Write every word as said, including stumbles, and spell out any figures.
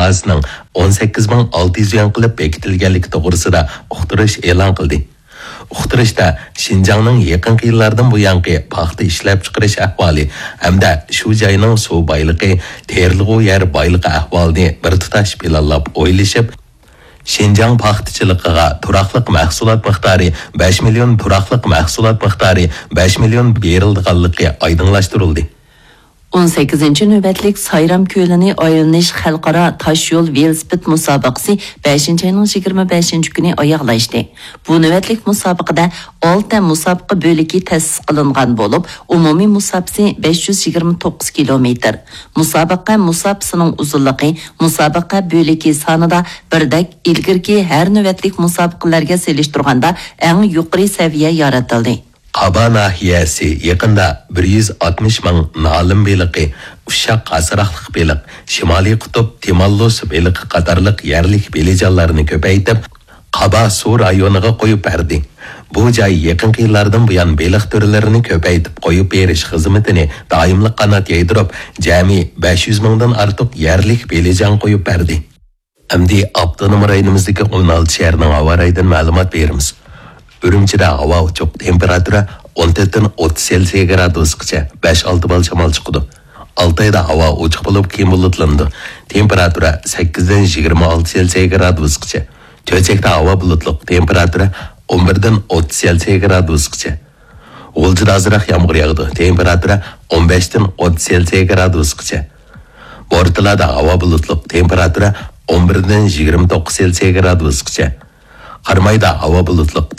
بازىسىنىڭ ئون سەككىز مىڭ ئالتە يۈز يۈەن قىلىپ بېكىتىلگەنلىكى توغرىسىدا ئۇقتۇرۇش ئېلان قىلدى. ئۇقتۇرۇشتا شىنجاڭنىڭ يېقىنقى يىللاردىن بۇيانقى پاختا ئىشلەپچىقىرىش ئەھۋالى ھەمدە شۇ جاينىڭ سۇ بايلىقى، تېرىلغۇ يەر بايلىقى ئەھۋالىنى بىر تۇتاش پىلانلاپ ئويلىشىپ، شىنجاڭ پاختىچىلىقىغا تۇراقلىق مەھسۇلات مىقدارى بەش مىليون، تۇراقلىق مەھسۇلات مىقدارى بەش مىليون بېرىلىدىغانلىقى ئايدىڭلاشتۇرۇلدى. ئون سەككىزىنچى نۆۋەتلىك سايرام كۆلىنى ئايلىنىش خەلقئارا تاش يول ۋېلىسىپىت مۇسابىقىسى بەشىنچى ئاينىڭ يىگىرمە بەشىنچى كۈنى ئاياغلاشتى. بۇ نۆۋەتلىك مۇسابىقىدە ئالتە مۇسابىقە بۆلىكى تەسىس قىلىنغان بولۇپ، ئومۇمىي مۇساپىسى بەش يۈز يىگىرمە توققۇز كىلومېتىر. مۇسابىقە مۇساپىسىنىڭ ئۇزۇنلۇقى مۇسابىقە بۆلىكى سانىدا بىردەك، ئىلگىرىكى ھەر نۆۋەتلىك مۇسابىقىلەرگە سېلىشتۇرغاندا ئەڭ يۇقىرى سەۋىيە يارىتىلدى. قابا ناھىيەسى يېقىندا بىر يۈز ئاتمىش مىڭ نالىم بېلىقى، ئۇششاق قاسراقلىق بېلىق، شىمالىي قۇتۇپ تىماللۇس بېلىقى قاتارلىق يەرلىك بېلىجانلارنى كۆپەيتىپ، قابا سۇ رايونىغا قويۇپ بەردى. بۇ جاي يېقىنقى يىللاردىن بۇيان بېلىق تۈرلىرىنى كۆپەيتىپ قويۇپ بېرىش خىزمىتىنى دائىملىق قانات يايدۇرۇپ، جەمئىي بەش يۈز مىڭدىن ئارتۇق يەرلىك بېلىجان قويۇپ بەردى. ئەمدى ئاپتونوم رايونىمىزدىكى ئون ئالتە شەھەرنىڭ ھاۋا رايىدىن مەلۇمات بېرىمىز. ئۈرۈمچىدە ھاۋا ئوچۇق، تېمپېراتۇرا ئون تۆتتىن ئوتتۇز سېلسىيە گرادۇسىغىچە، بەش ئالتە بال شامال چىقىدۇ. ئالتايدا ھاۋا ئوچۇق بولۇپ، كېيىن بۇلۇتلىنىدۇ. تېمپېراتۇرا سەككىزدىن يىگىرمە ئالتە سېلسىيە گرادۇسىغىچە. چۆچەكتە ھاۋا بۇلۇتلۇق، تېمپېراتۇرا ئون بىردىن ئوتتۇز سېلسىيە گرادۇسىغىچە. غۇلجىدا ئازراق يامغۇر ياغىدۇ، تېمپېراتۇرا ئون بەشتىن ئوتتۇز سېلسىيە گرادۇسقىچە. بورتالادا ھاۋا بۇلۇتلۇق، تېمپېراتۇرا ئون بىردىن يىگىرمە توققۇز سېلسىيە گرادۇسقىچە. قارامايدا ھاۋا بۇلۇتلۇق،